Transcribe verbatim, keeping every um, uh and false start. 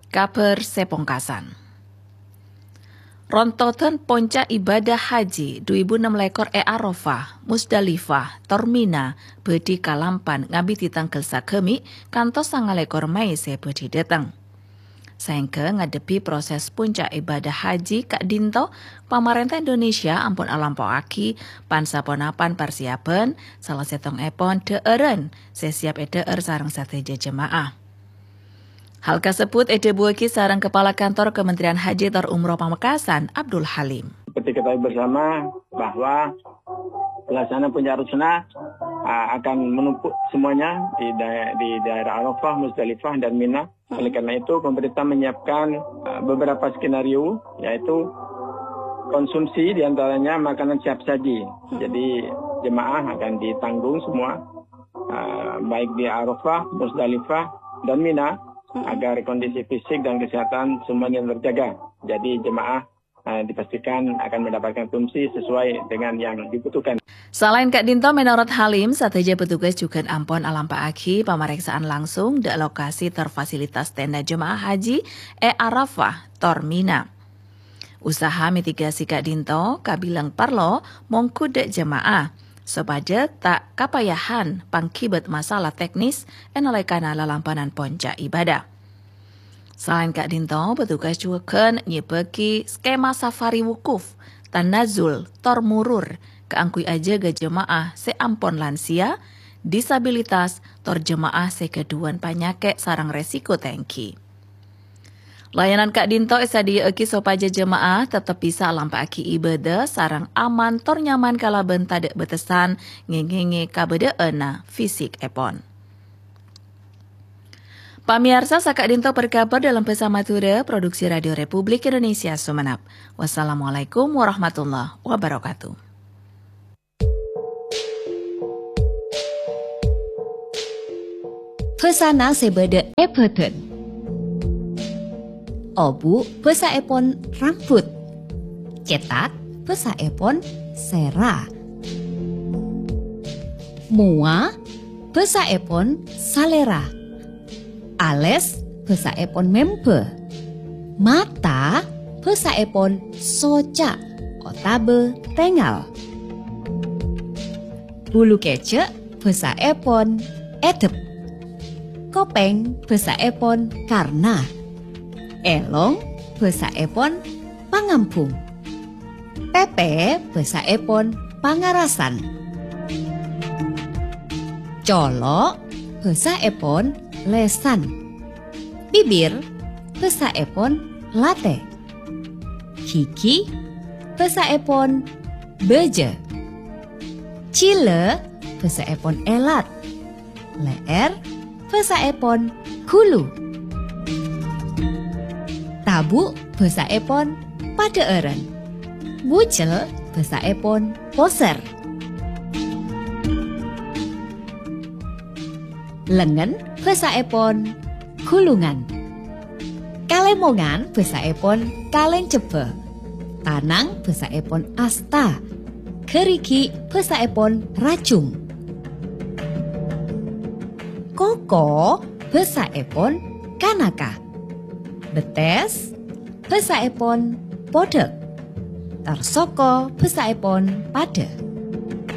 Kabhâr sè pongkasan. Rontodan ponca' ibadah haji du èbu ennem lèkor è Arafah, Musdalifah, tor Mina bhâdhi kalampan ngabidhi tangghâl saghâmi' kantos sanga lèkor Mei sè bhâdhi dhâteng. Saèngghâ ngadhebbhi proses ponca' ibadah haji ka'dhinto, pamarènta Indonesia ampon alampa'aghi pan-saponapan parsèyabhân, sala sèttongngèpon dhâ'ârân sè sèyap èdhâ'âr sareng sadhâjâ jemaah. Hal kasebbhut èdhâbuwâghi sareng Kepala Kantor Kementerian Haji tor Umroh Pamekasan, Abdul Halim. Seperti ketahui bersama bahwa pelaksanaan puncak arus sunnah, ah, akan menumpuk semuanya di daya-, di daerah Arafah, Musdalifah, dan Mina. Oleh karena itu, pemerintah menyiapkan, ah, beberapa skenario, yaitu konsumsi, di antaranya makanan siap saji. Jadi, jemaah akan ditanggung semua, ah, baik di Arafah, Musdalifah, dan Mina, agar kondisi fisik dan kesehatan semuanya terjaga. Jadi, jemaah, ah, dipastikan akan mendapatkan konsumsi sesuai dengan yang dibutuhkan. Salaèn ka'dhinto, mènorot Halim, sadhâjâ petugas jhughân ampon alampa'aghi pamarèksaan langsung dâ' lokasi tor fasilitas tenda jemaah haji è Arafah tor Mina. Usaha mitigasi ka'dhinto kabilang parlo mongghu dâ' jemaah, sopajâ ta' kapayahan pangghibât masalah teknis è nalèkana lalampanan ponca' ibadah. Salaèn ka'dhinto, petugas jhughân nyèbâghi skema safari wukuf, tanazul, tor murur kaangghuy ajâgâ jemaah sè ampon lansia, disabilitas, tor jemaah sè ghâdhuwân panyakè' sareng resiko tèngghi. Layanan ka'dhinto èsadhiyâ'aghi sopajâ jemaah teptep bisa alampa'aghi ibadah sareng aman tor nyaman kalabân tadâ' bâtessan ngèngèngè kabâdâ'ânna fisikèpon. Pamèyarsa, saka'dhinto parkabhâr dâlem bhâsa Madhurâ, produksi Radio Republik Indonesia Sumenep. Wassalamualaikum warahmatullahi wabarakatuh. Bhâsana sè bâdâ è bhâdhân. Obu' bhâsaèpon rambut. Cètak bhâsaèpon sèra. Mowa bhâsaèpon salèra. Alès bhâsaèpon membâ. Mata bhâsaèpon soca' otabâ tèngal. Bulu kèjhâ' bhâsaèpon èdep. Kopèng bhâsaèpon karna. Èlong bhâsaèpon pangambhung. Pèpè bhâsaèpon pangarasan. Colo' bhâsaèpon lèsan. Bibir bhâsaèpon latè. Ghighi bhâsaèpon bâjâ. Jhilâ bhâsaèpon èlat. Lè'èr bhâsaèpon ghulu. Tabu' bhâsaèpon padhâ'ârân. Bujel bhâsaèpon posèr. Lengngen bhâsaèpon ghulungan. Kalèmongan bhâsaèpon kalèncebbhâ. Tanang bhâsaèpon asta. Ghârighi' bhâsaèpon rajung. Koko bhâsaèpon kanaka. Bettès bhâsaèpon podhâk. Tor soko bhâsaèpon padâ.